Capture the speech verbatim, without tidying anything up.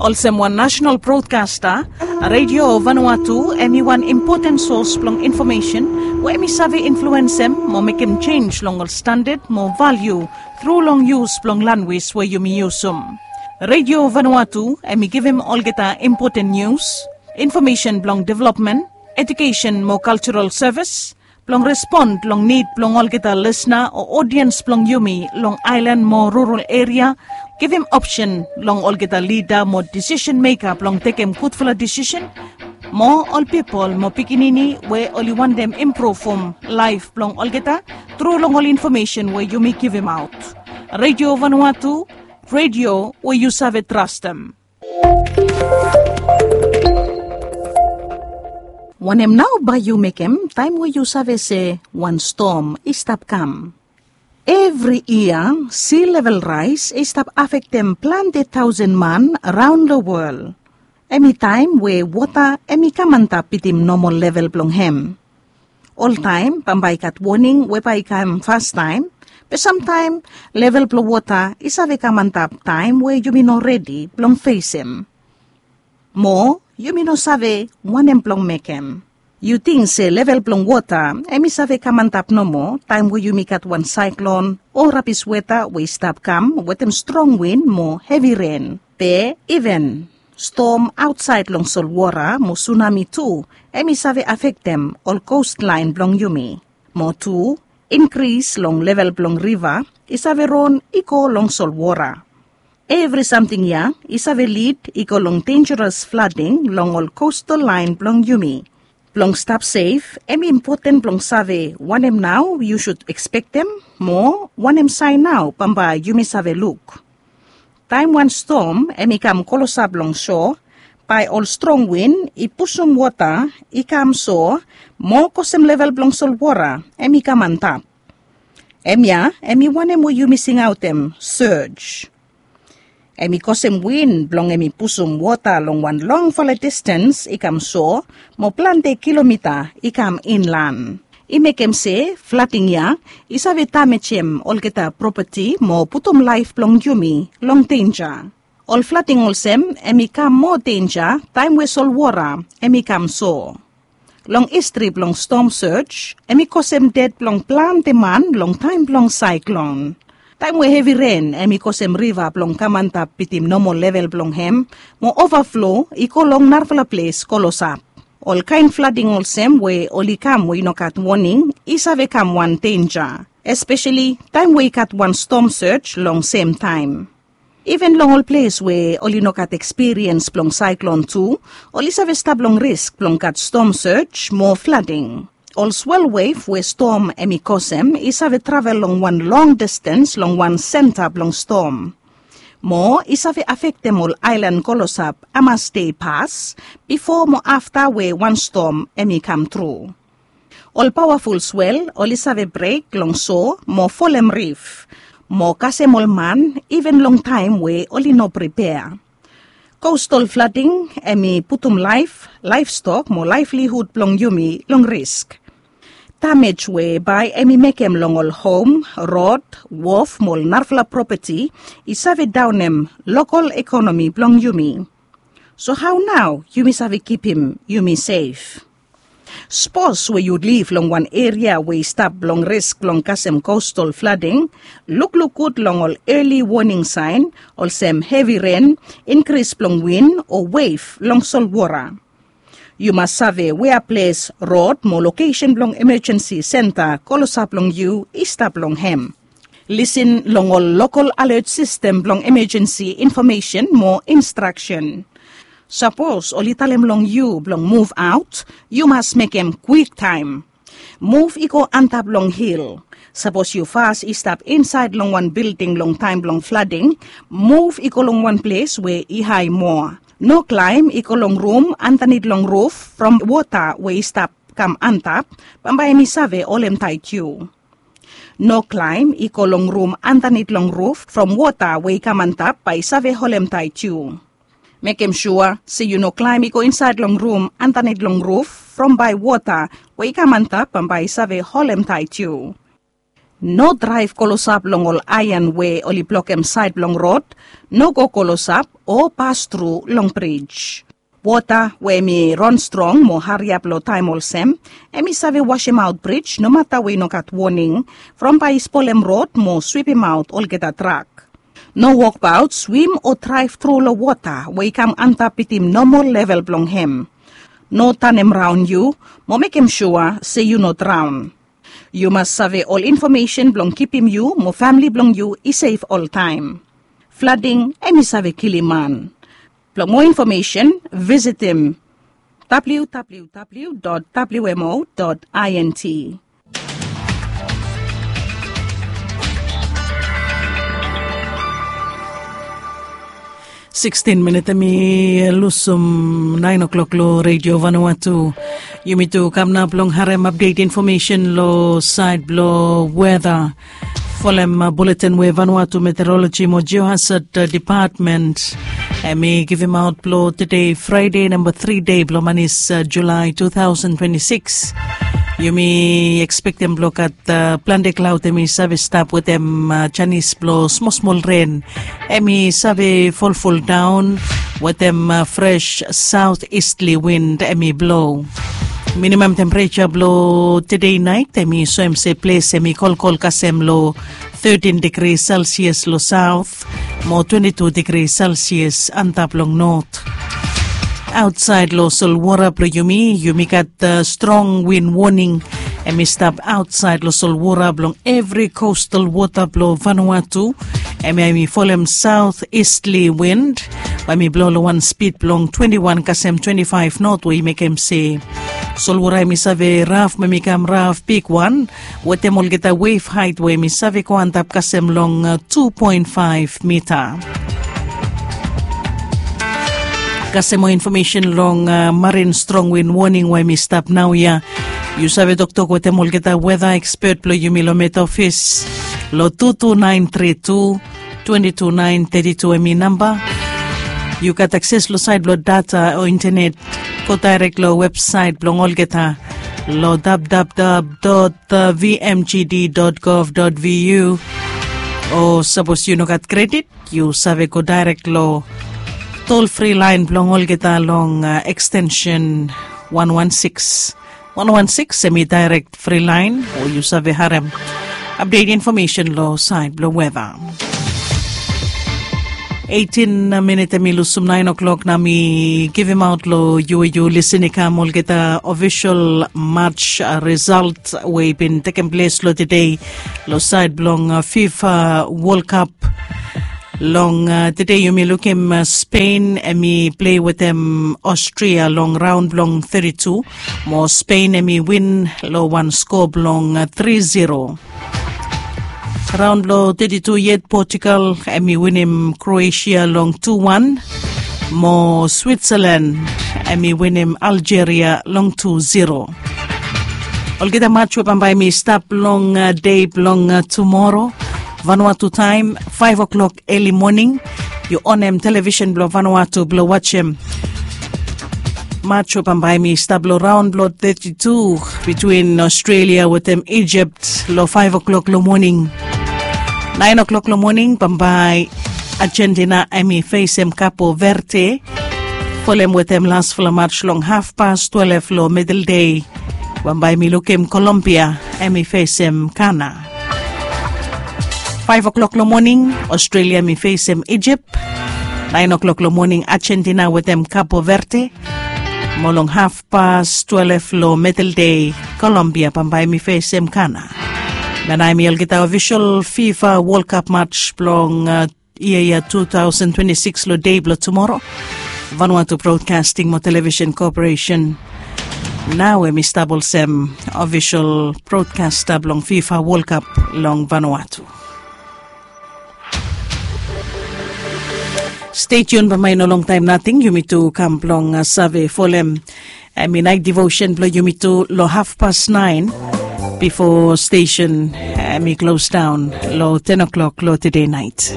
Olsem wan nasenal brodkasta, Radio Vanuatu em i wan impoten sos blong infomesen we em i save influensem mo mekem jenis long ol standad mo valiu tru long yus blong lanwis we yumi yusum. Radio Vanuatu em i givim olgeta impoten nius, infomesen blong developmen, ejukesen mo kaljaral sevis, blong respon long nid blong olgeta lisna o odiens blong yumi long aelan mo rural eria, givim opsen long olgeta lida mo disisen meka blong tekem gudfala disisen, mo ol pipol mo pikinini we oli wantem impruvum laef blong olgeta tru long ol infomesen we yumi givimaot. Radio Vanuatu, radio we yu save trastem. Wanem nao bae yu mekem taem we yu save se wan stom i stap kam? Evri yia, si level raes i stap afektem plante taosen man raon long wol. Em i taem we wota em i kam antap bitim nomol level blong hem. Oltaem bambae i gat woning we bae i kam fastaem, be samtaem level blong wota i save kam antap taem we yumi no redi blong fesem. Mo yumi no save wanem blong mekem. Yu ting se level blong wota em i save kam antap nomo taem we yumi gat wan saeklon o rabis weta we i stap kam wetem strong win mo hevi ren, be iven stom aotsaed long solwora mo sunami tu em i save afektem ol kostlaen blong yumi. Mo tu, inkris long level blong riva i save ron i go long solwora. Evri samting ya i save lid i go long denjaras flading long ol kostal laen blong yumi. Blong stap sef, em i impoten blong save wanem nao yu sud ekspektem, mo wanem saen nao bambae yumi save luk. Taem wan stom em i kam klosap long so, bae ol strong win i pusum wota i kam so, mo kosem level blong solwora em i kam antap. Em ya em i wanem we yumi singaotem surge. Em i kosem win blong em i pusum wota long wan longfala distens i kam so, mo plante kilomita i kam inlan. I mekem se flading ya i save damejem olgeta propati mo putum laef blong yumi long denja. Ol flading olsem em i kam moa denja taem we solwora em i kam so. Long histri blong stom surge, em i kosem ded blong plante man long taem blong saeklon. Taem we hevi ren em i kosem riva blong kam antap bitim nomol level blong hem, mo ovaflo i go long narafala ples klosap. Ol kaen flading olsem we oli kam we i no gat woning i save kam wan denja, espeseli taem we i gat wan stom surge long semtaem. Iven long ol ples we oli no gat ekspiriens blong saeklon tu, oli save stap long risk blong gat stom surge mo flading. Ol swel wef we stom em i kosem i save travel long wan long distens long wan senta blong stom. Mo i save afektem ol aelan klosap hamas dei pas, bifo mo afta we wan stom em i kam tru. Ol pawaful swel oli save brek long so mo folem rif, mo kasem ol man iven long taem we oli no pripea. Kostal flading em i putum laef, laefstok mo laevlihud blong yumi long risk. Damej we bae em i mekem long ol hom, rod, wof mo ol narafala propati i save daonem lokal ekonomi blong yumi. So hao nao yumi save kipim yumi sef? Sapos we yu liv long wan eria we i stap long risk blong kasem kostal flading, lukluk gud long ol eli woning saen olsem hevi ren, inkris blong win o wef long solwora. Yu mas save wea ples rod mo lokesen blong emejensi senta klosap long yu i stap long hem. Lisin long ol lokal alet sistem blong emejensi infomesen mo instraksen. Sapos oli talem long yu blong muvaot, yu mas mekem kwiktaem. Muv i go antap long hil. Sapos yu fas i stap insaed long wan bilding long taem blong flading, muv i go long wan ples we i hae moa. No klaem i go long rum andanit long ruf from wota we i stap kam antap, bambae em i save holem taet yu. No klaem i go long rum andanit long ruf from wota we i kam antap bae i save holem taet yu. Mekem sua se yu no klaem i go insaed long rum andanit long ruf from bae wota we i kam antap bambae i save holem taet yu. No draev klosap long ol aean we oli blokem saed blong rod, no go klosap o pastru long brij. Wota we hem i ron strong mo hariap long taem olsem, hem i save wasemaot brij nomata we i no gat woning, from bae i spolem rod mo swipimaot olgeta trak. No wokbaot, swim o draev tru long wota we i kam antap bitim nomol level blong hem. No tanem raon yu, mo mekem sua se yu no draon. Yu mas save ol infomesen blong kipim yu mo famle blong yu i sef oltaem. Flading hem i save kilim man. Blong moa infomesen visitim www.wmo.int. Sikstin minit hem i lusum naen o'klok long Redio Vanuatu. Yumi tu kam nao blong harem apdet infomesen long saed blong weta. Folem buletin we Vanuatu Meteoroloji mo Geohazard Depatmen hem i givimaot blong tede Fraede namba tri dei blong manis Julae tu taosen twenti sikis. Yumi ekspektem blong gat plante klaod hem i save stap wetem janis blong smolsmol ren hem i save folfoldaon wetem fres saot istli win hem i blo. Minimam tempereja blong tede naet hem i soem se ples hem i kolkol kasem long tetin digri selsias long saot mo twenti tu digri selsias antap long not. Aotsaed long solwora blong yumi, yumi gat strong win woning hem i stap aotsaed long solwora blong evri kostal wota blong Vanuatu. Hem ya hem i folem saot istli win we hem i blo long wan spid blong twenti wan kasem twenti faef not we i mekem se solwora hem i save raf mo hem i kam raf bigwan wetem olgeta wef haet we hem i save go antap kasem long tu poen faef mita. Kasem moa infomesen long marin strong win woning we hem i stap naoia. Yu save toktok wetem olgeta weta ekspet blong yumi long met ofis long tu tu naen tri tu twenti tu naen teti tu hem i namba. Yu gat akses long saed blong data o intenet, go daerek long websaet blong olgeta long www.vmgd.gov.vu. O sapos yu no gat kredit, yu save go daerek long tolfri laen blong olgeta long ekstensen wan wan sikis. Wan wan sikis hem i daerek fri laen o yu save harem apdet infomesen long saed blong weta. Eitin minit hem i lusum naen o'klok nao mi givimaot long yu we yu lisin i kam olgeta ofisol maj risalt we i bin tekem ples long tede long saed blong fifa wolkap. Long tede yumi lukim Spen hem i plei wetem Ostria long raon blong teti tu mo Spen hem i win long wan skoa blong tri zero. Raon blong teti tu yet Potugal hem i winim Kroesia long tu wan mo Switsalan hem i winim Aljeria long tu zero. Olgeta maj we bambae hem i stap long dei blong tumoro Vanuatu taem faef o'klok eli moning. Yu onem televisen blong Vanuatu blong wajem maj we bambae hem i stap long raon blong teti tu bitwin Ostrelia wetem Ijipt long faef o'klok long moning. Naen o'klok long moning bambae Ajentina hem i fesem Kapo Verde folem wetem lasfala maj long hafpas twelef long midel dei. Bambae mi lukim Kolombia hem i fesem Gana. Faef o'klok long moning Ostrelia hem i fesem Ijipt. Naen o'klok long moning Ajentina wetem Kapo Verde. Mo long hafpas twelef long midel dei Kolombia bambae hem i fesem Gana. Nanae hem i olgeta ofisol fifa wolkap maj blong yia ya tu taosen twenti sikis long dei blong tumoro. Vanuatu Brodkasting mo Televisen Koporesen nao hem i stap olsem ofisol brodkasta blong fifa wolkap long Vanuatu. Stetiun bambae i no longtaem nating yumi tu kam blong save folem hem i naet divosen blong yumi tu long hafpas naen bifo stesen hem i klosdaon long ten o'klok long tede naet.